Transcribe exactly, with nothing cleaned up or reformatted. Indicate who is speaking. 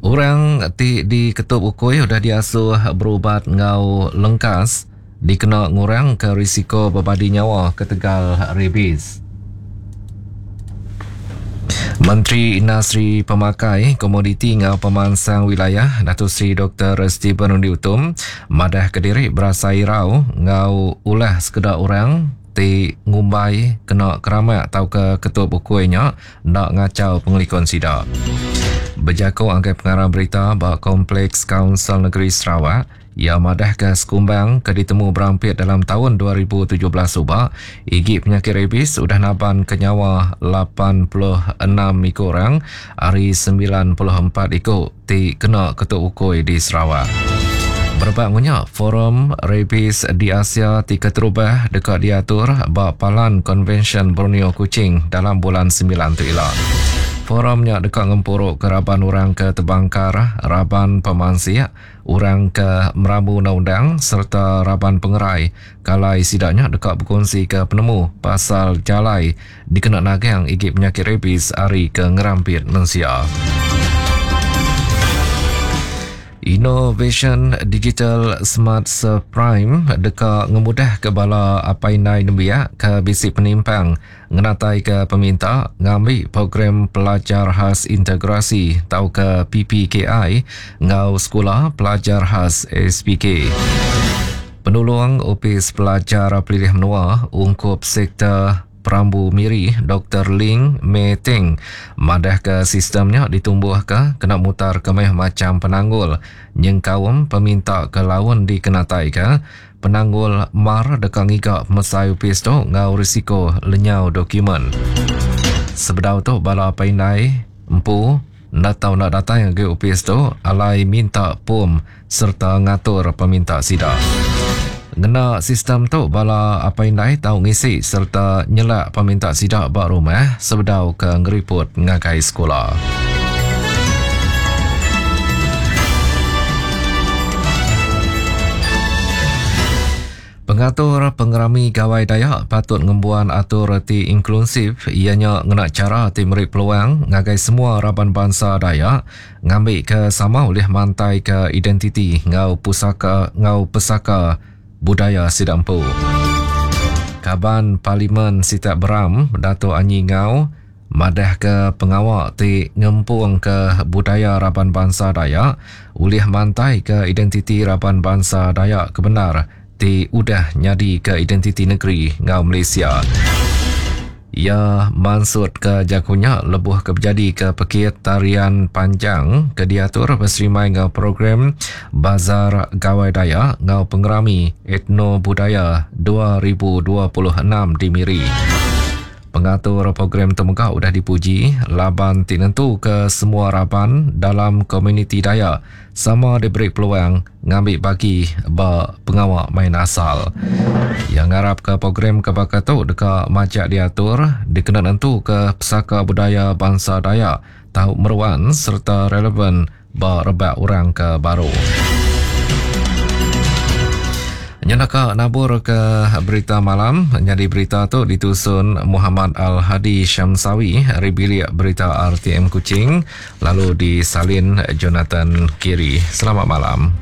Speaker 1: Orang ti diketup ukui udah diasuh berubat enggau lengkas dikena ngurangka risiko bebadi nyawa ketegal rabies. Menteri Industri Pemakai, Komoditi enggau Pemansang Wilayah Datuk Seri Doktor Stephen Rundi Utom madah kediri berasai irau enggau ulah sekeda orang ti ngumbai kena keramak tauka ketup ukui nya enda ngachau pengelikun sida. Bejaku angkai pengarang berita ba Kompleks Kaunsil Negeri Sarawak, ia madah ke sekumbang ke ditemu berampit dalam tahun dua ribu tujuh belas suba, igi penyakit rabies udah naban ke nyawa lapan puluh enam iku orang ari sembilan puluh empat iku ti kena ketup ukui di Sarawak. Berebak ngunya, Forum Rabies di Asia ti keterubah deka diatur ba Palan Konvensyen Borneo Kuching dalam bulan sembilan tu ila. Forumnya deka ngempuruk ke raban orang ke tebangkar, raban pemansik, orang ke merambu undang-undang serta raban pengerai. Kalai sidaknya deka berkongsi ke penemu pasal jalai dikena nagang igi penyakit rabies ari ke ngerampit mensia. Innovation Digital Smart Prime deka ngemudah ke bala apai indai nembiak ke bisi penimpang ngenatai ke peminta ngambi program pelajar khas integrasi tau ke P P K I ngau sekolah pelajar khas S P K. Penolong Opis Pelajar Pelilih Menua ungkup sektor Perambu Miri Doktor Ling Mei Teng madah ke sistemnya ditumbuh ke kena mutar ke meh macam penanggul nyengkaum peminta ke laun dikenatai ke penanggul mar deka ngiga pemesai opis tu ngau risiko lenyau dokumen. Sebedau tu bala paindai empu nda tau nak datang ke opis tu alai minta pom serta ngatur peminta sida. Ngena sistem tu bala apai indai tau ngisi serta nyelak peminta sida ba rumah sebedau ke ngeriput ngagai sekolah. Pengatur pengerami Gawai Dayak patut ngembuan atur ti inklusif ianya ngena cara ti meri peluang ngagai semua raban bangsa Dayak ngambi ke sama oleh mantai ke identiti ngau pusaka ngau pesaka budaya sida empu. Kaban Parlimen Sitak Beram Dato' Anyi Ngau madah ke pengawak ti ngempung ke budaya raban bangsa Dayak ulih mantai ke identiti raban bangsa Dayak kebenar ti udah nyadi ke identiti negeri ngau Malaysia. Ia mansut ke jakunya lebuh ke berjadi ke pekit tarian panjang ke diatur berserimai ngau program Bazar Gawai Dayak ngau pengerami Etno Budaya dua ribu dua puluh enam di Miri. Pengatur program tu mega udah dipuji laban ti nentu ke semua raban dalam komuniti Dayak sama diberi peluang ngambil bagi ba pengawak main asal. Yang ngarap ke program ke baka tu deka majak diatur dikena nentu ke pesaka budaya bangsa Dayak tau meruan serta relevan ba rebak orang ke baru. Nyenaka nabur ke berita malam. Jadi berita tu ditusun Muhammad Al-Hadi Syamsawi dari bilik berita R T M Kuching, lalu disalin Jonathan Kiri. Selamat malam.